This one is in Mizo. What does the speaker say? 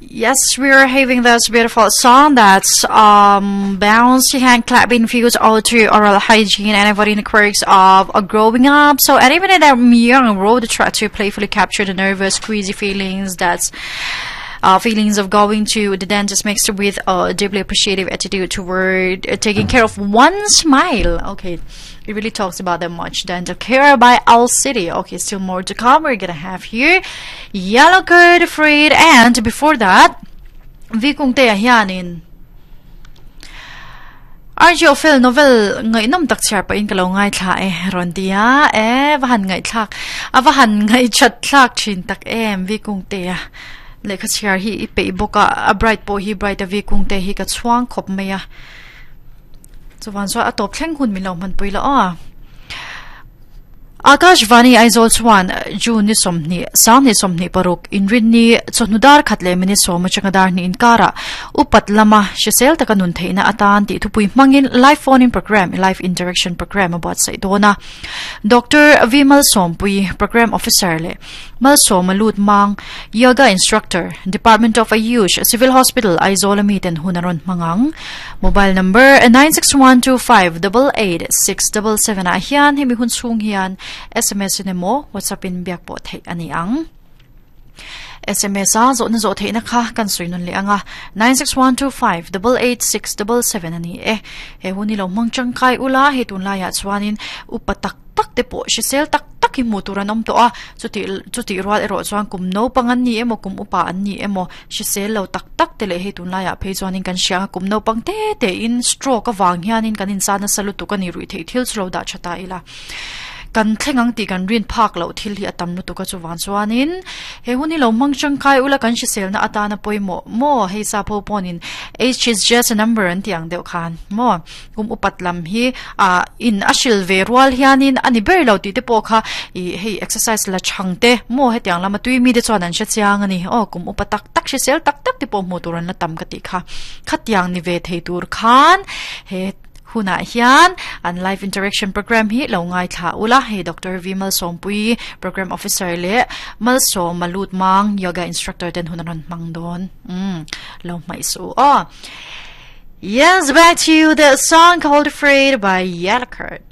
Yes, we are having this beautiful song that's um bouncy hand clapping feels all to oral hygiene and avoiding the quirks of uh, growing up. So and even in that young road try to playfully capture the nervous, queasy feelings that's uh, feelings of going to the dentist mixed with a deeply appreciative attitude toward uh, taking care of one smile. Okay, it really talks about that much. Dental care by Owl City. Okay, still more to come. We're gonna have here Yellowcard Afraid, and before that, Vikungte hianin RG Ophel novel ngaihnawm tak chhiar pahin ka lo ngaithla e rawn ti a, e va han ngaihthlak a va han ngaihthat thlak thin tak em Vikungtea lehkha chhiar hi i peih bawk a, a bright pawh hi bright a Vikungte hi ka chhuang khawp mai a, chuvan chuan a tawp thleng hun min lo hmanpui la aw. Akashvani Aizawl chuan June ni 20, 2026 Inrinni chawhnu dar khat leh minute sawm atanga dar hnih inkarah upat lama hrisel taka nun theihna atan tih thupui hmangin Live Phone-in Programme, Live Interaction Programme a buatsaih dawn a. Doctor V Malsawmpui, Programme Officer leh Malsawma Lut Mang, Yoga Instructor, Department of Ayush, Civil Hospital, Aizawl a miten hun a rawn hmang ang. Mobile number 9612588677 ah hian hemi hun chhung hian SMS in emaw WhatsApp in biak pawh theih a ni ang. SMS a zawhna zawh theihna kha kan sawi nun leh anga 9612588677 a ni e. He hun hi lo hmang tangkai ula hei tunlaiah chuanin upa tak tak te pawh hrisel tak tak hi hmuh tur an awm tawh a, chuti chutih rual erawh chuan kum naupang an ni emaw kum upa an ni emaw hrisel lo tak tak te leh hei tunlaiah phei chuanin kan hria ang a kum naupang te te in stroke avang hianin kan inzat nasa lutuk a ni ruih theih thil chu lo dah tha ta ila. Kan thleng ang tih kan rin phak loh thil hi a tam lutuk a chuvang chuanin he hun hi lo hmang tangkai ula kan hriselna atana pawimawh maw hei sap ho pawnin age is just a number an tih ang deuh khan maw kum upat lam hi ah in a hril ve rual hianin a ni ber lo tih te pawh kha ih hei exercise la chhang te maw hetiang lama tui mi te chuan an hre chiang a ni aw kum upa tak tak hrisel tak tak te pawh hmuh tur an la tam ka tih kha khatiang ni ve thei tur khan he Hunah hian an live interaction program hi lo ngaithla ula, hei Doctor V Malsawmpui, Program Officer leh Malsawma Lutmang, Yoga Instructor ten hun an rawn hmang dawn. Umm, lo hmaih suh u aw. Yes, back to the song called Afraid by Yellowcard.